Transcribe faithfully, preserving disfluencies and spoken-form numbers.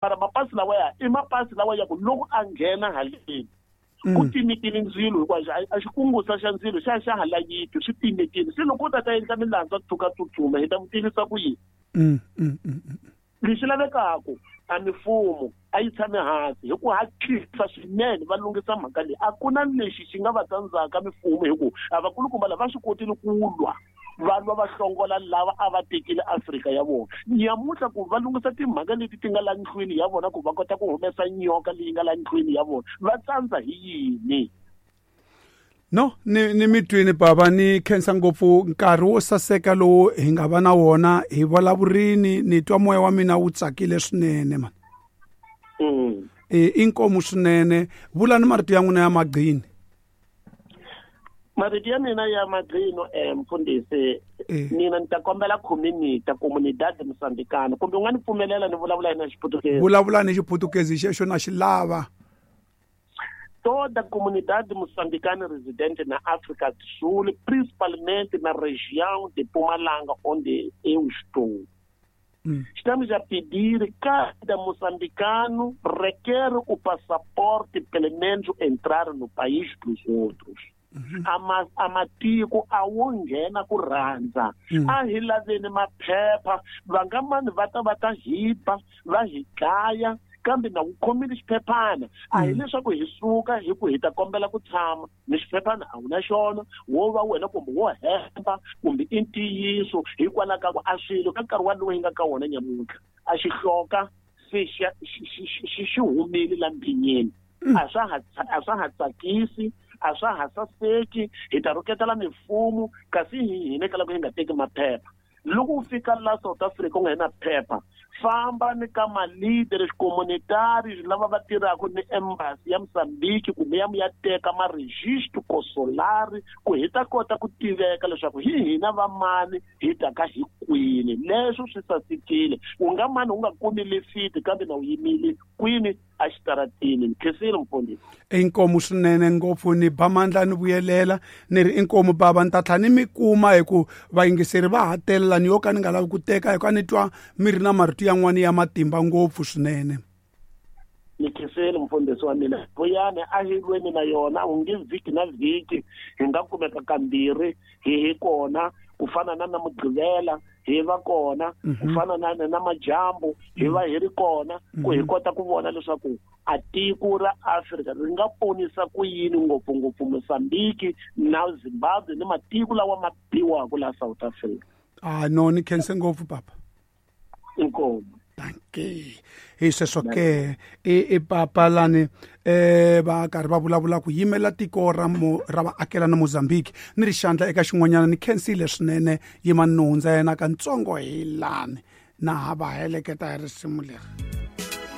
Mara mapasi lawa ya i mapasi lawa ya ku loko a nghena haleni ku timekile ndzilo hinkwaxo a xikungusa xa ndzilo xa xa ha layiti swi timekile. Se loko u ta ta endla milandzu a tshuka tsutsuma hi ta n'wi tivisa ku yini? Lexi lavekaka a mifumo a yi tshame hansi hi ku hatlisa swinene va lunghisa mhaka leyi. A ku na lexi xi nga va tsandzaka mifumo hi ku a vakulukumba lava va swi kotile ku lwa va lwa va hlongola lava a va tekile Afrika ya vona. Nyamuntlha ku va lunghisa timhaka leti ti nga la ndlwini ya vona ku va kota ku humesa nyoka leyi nga la ndlwini ya vona va tsandza hi yini? No, ni ni mi twini bava, ni khensa ngopfu nkarhi wo saseka lowu hi nga va na wona hi vulavurini, ni twa moya wa mina wu tsakile swinene man. Mm. E inkomu swinene, vulani marito ya n'wina ya magqini. Marito ya mina ya magqino eh mfundhisi, mina ni ta kombela community, comunidade moçambicana, kumbe u nga ni pfumelela ni vulavula na Xiputukezi? Vulavula ni Xiputukezi xexo na xi lava. Toda a comunidade moçambicana residente na África do Sul, principalmente na região de Mpumalanga, onde eu estou. Hum. Estamos a pedir cada moçambicano requer o passaporte pelo menos entrar no país dos outros. Mm-hmm. Ama amatiko a wo nghena ku rhandza. Mm. A hi laveni maphepha, va nga mani va ta va ta hi ba, va hi dlaya, kambe na ku khomile xiphephana. A hi Mm. leswaku hi suka hi ku hi ta kombela ku tshama ni xiphephana a wu na xona, wo va wena kumbe wo hemba kumbe i ntiyiso hikwalaho ka ku a swilo ka nkarhi walowo hi nga ka wona nyamuntlha a xi hloka se xa, xi, xi, xi, xi, xi humile la mbhinyeni. Mm. A swa ha tsa-, a swa ha tsakisi, a swa ha saseki, hi ta rhuketela mifumo kasi hi hina ka loko hi nga teki maphepha. Loko u fika la South Africa u nga na phepha, famba ni ka ma-leaders communitarios lava va tirhaka ni embassy ya Mozambique kumbe ya ya teka ma-registro consular ku hi ta kota ku tiveka leswaku hi hina va mani hi ta ka hi kwini. Leswo swi sasekile, u nga mani u nga kumi lifiti kambe na u yimile kwini a xitaratini. Ni khensile mfundhisi. Inkomu swinene ngopfu, ni ba mandla ni vuyelela ni ri inkomu bava, ni ta tlhela ni mi kuma hi ku vayingiseri va ha telela, ni yo ka ni nga lavi ku teka hi ku a ni twa mi ri na marito yan'wana ya matimba ngopfu swinene. Ni khensile mfundhisi wa mina. Vuyani a hi lweni na yona, u nge vhiki na vhiki hi nga kumeka kambirhi hi hi kona, ku fana na na Mugqivela hi va kona, ku Mm-hmm. fana na na majambu hi va hi ri kona, ku hi Mm-hmm. kota ku vona leswaku a tiko ra Afrika ri nga ponisa ku yini ngopfungopfu Mozambique na Zimbabwe ni matiko lawa ma biwaka la South Africa. Ah, no, ni khense ngopfu papa. Inkomu. Dankie. Hi sweswo ke i, i papa lani eh va karhi va vulavula ku yimela tiko ra mo, ra vaakelani Mozambique ni ri xandla eka xin'wanyana. Ni khensile swinene, yima ni hundza yena katsongo hi lani na ha va heleketa hi risimu leri.